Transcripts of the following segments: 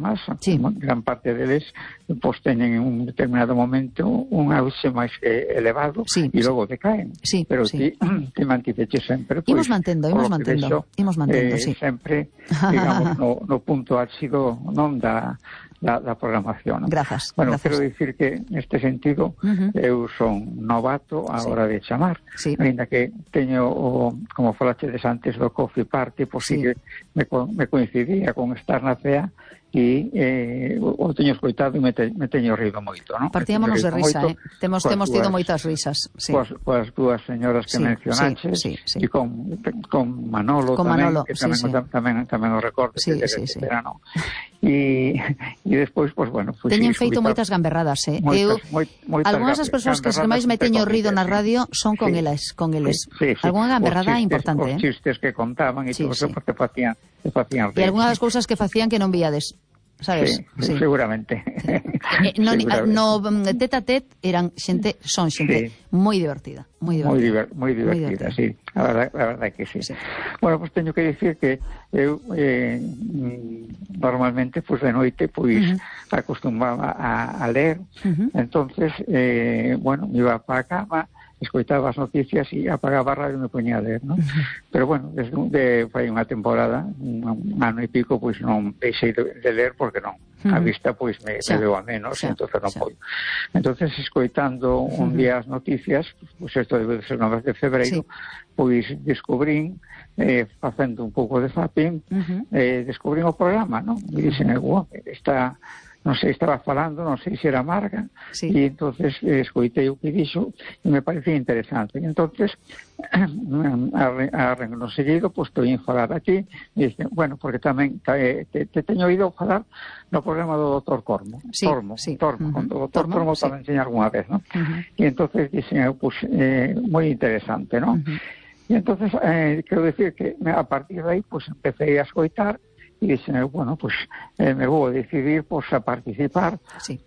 programas, gran parte deles, pois teñen en un determinado momento un auxe máis elevado e logo decaen. Pero ti mantiveche sempre. Imos mantendo, sempre, digamos, no punto álxido non da programación. Grazas. Bueno, quero dicir que neste sentido eu son novato a hora de chamar, ainda que teño, como falachedes antes do Coffee Party, pois sí que me coincidía con estar na CEA e o teño escoitado e me teño rido moito, non? Partíamonos de risa, temos tido moitas risas. Coas dúas señoras que mencionaches e con Manolo tamén o recordo que verano. E despois, pois, bueno... Teñen feito moitas gamberradas, algunhas das persoas que máis me teño rido na radio son con eles. Algúnha gamberrada importante, os chistes que contaban e todo eso, porque facían rir. E algunhas das cousas que facían que non viades, sabes? Sí, seguramente. No tete a tete son xente moi divertida. Moi divertida, sí. A verdade que sí. Bueno, pois teño que dicir que eu normalmente, pois de noite, pois acostumaba a ler. Entonces, bueno, me iba para a cama, escoitaba as noticias e apagaba a radio e me poñía a ler, non? Pero, bueno, desde fai unha temporada, un ano e pico, pois non deixei de ler porque non. A vista, pois, me veo a menos, entonces non podo. Entonces, escoitando un día as noticias, pois isto debe ser 9 de febreiro, pois descubrín, facendo un pouco de zapping, descubrín o programa, non? E dixen, está... non sei, estaba falando, non sei se era Marga, e entonces escoitei o que dixo e me parecía interesante. E entonces, no seguido, pois estou a falar aquí, e dixen, bueno, porque tamén te teño oído falar no programa do Dr. Tormo. Tormo. O Dr. Tormo tamén enseña algunha vez, non? E entonces dixen, pois, moi interesante, non? E entonces, quero decir que a partir de aí, pois, empecé a escoitar. E dixen, bueno, pois me vou decidir a participar,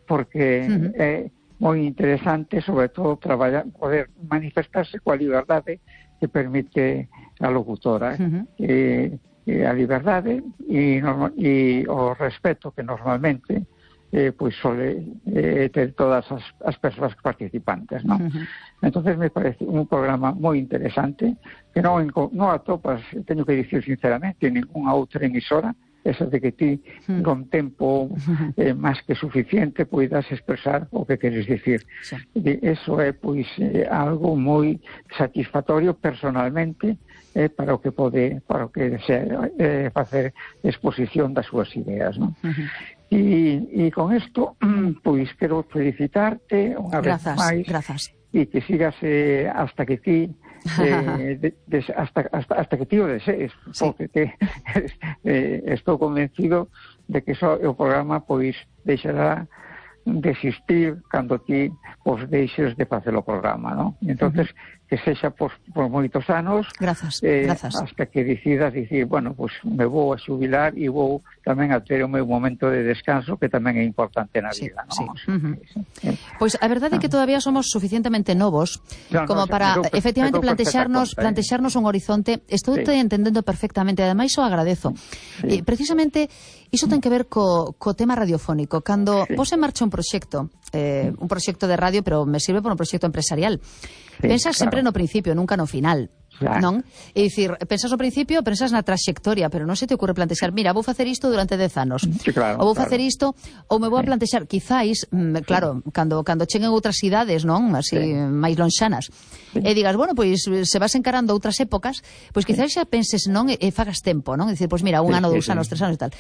porque é moi interesante, sobre todo, poder manifestarse coa liberdade que permite a locutora, a liberdade e o respeto que normalmente pois sole ter todas as persoas participantes, non? Entonces me parece un programa moi interesante que non atopas, teño que dicir sinceramente, en ninguna outra emisora, esa de que ti con tempo máis que suficiente poidas expresar o que queres dicir. Eso é pois algo moi satisfactorio personalmente para o que desea facer exposición das súas ideas, non? E con isto, pois, quero felicitarte unha vez máis e que sigas hasta que ti hasta que ti o desees, porque estou convencido de que o programa pois deixará de existir cando ti os deixes de facer o programa, non? Entonces, que sexa por moitos anos, hasta que decidas dicir, bueno, pois me vou a xubilar e vou tamén a ter o meu momento de descanso, que tamén é importante na vida, non? Pois a verdade é que todavía somos suficientemente novos como para, efectivamente, plantexarnos un horizonte. Estou entendendo perfectamente, ademais o agradezo. Precisamente, iso ten que ver co tema radiofónico. Cando vos en marcha un proxecto de radio, pero me sirve para un proxecto empresarial, pensas sempre no principio, nunca no final, non? É dicir, pensas no principio, pensas na traxectoria, pero non se te ocurre plantexar, mira, vou facer isto durante 10 anos, ou vou facer isto, ou me vou a plantexar, quizáis, claro, cando cheguen outras idades, non? Así, máis lonxanas, e digas, bueno, pois, se vas encarando outras épocas, pois quizáis xa penses, non? E fagas tempo, non? É dicir, pois mira, un ano, 2 anos, 3 anos e tal.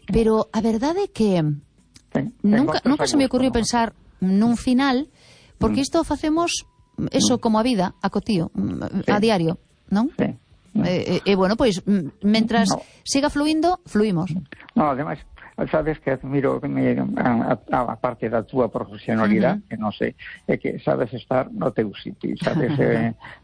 Pero a verdade é que nunca se me ocurriu pensar nun final, porque isto facemos eso como a vida, a cotío, a diario, non? E bueno, pois, mentras siga fluindo, fluimos. No, ademais, sabes que admiro a parte da túa profesionalidade, que non sei, é que sabes estar no teu sitio, sabes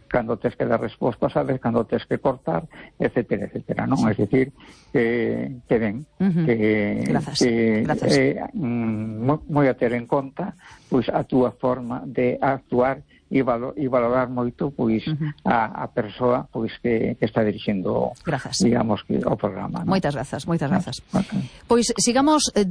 cando tes que dar resposta, sabes cando tes que cortar, etcétera, etcétera, non? É dicir, que ben, que moi a ter en conta pois a túa forma de actuar e valorar moito pois a persoa pois que está dirixindo, digamos, que o programa. Moitas grazas. Pois sigamos